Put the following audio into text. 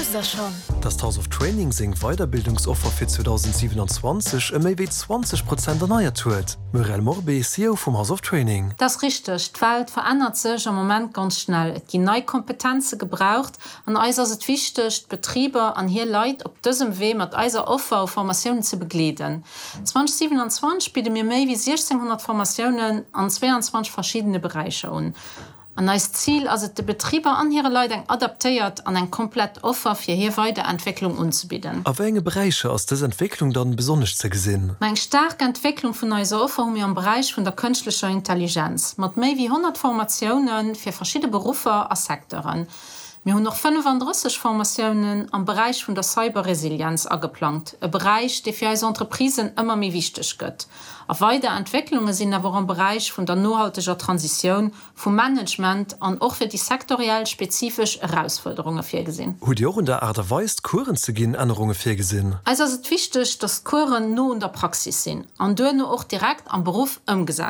Wousst der schonn? Dass d'House of Training seng Weiderbildungsoffer fir 2027 ëm méi wéi 20 Prozent erneiert huet? Muriel Morbé, CEO vum House of Training. Dat ass richteg, d'Welt verännert sech am Moment ganz schnell. Et ginn nei Kompetenze gebraucht an eis ass et wichteg, d'Betriber an hir Leit op dësem Wee mat eiser Offer u Formatiounen ze begleeden. 2027 bidde mir méi wéi 1.600 Formatiounen an 22 verschiddene Beräicher un. An eist Zil ass et, de Betriber an hire Leit eng adaptéiert an eng komplett Offer fir hir Weiderentwécklung unzebidden. A wéi enge Beräicher ass dës Entwécklung dann besonnesch ze gesinn? Ma eng staark Entwécklung vun eiser Offer hu mir am Beräich vun der kënschtlecher Intelligenz, mat méi wéi 100 Formatioune fir verschidde Beruffer a Secteuren. Mir hunn och 35 Formatiounen am Beräich vun der Cyberresilienz ageplangt, e Beräich, dee fir eis Entreprisen ëmmer méi wichteg gëtt. A weider Entwécklunge sinn awer och am Beräich vun der nohalteger Transitioun, vum Management an och fir déi sektoriell spezifesch Erausfuerderunge virgesinn. Hutt Dir och un der Aart a Weis, d'Coursen ze ginn, Ännerunge virgesinn? Eis ass et wichteg, dass d'Coursen no un der Praxis sinn an duerno och direkt am Beruff ëmgesat.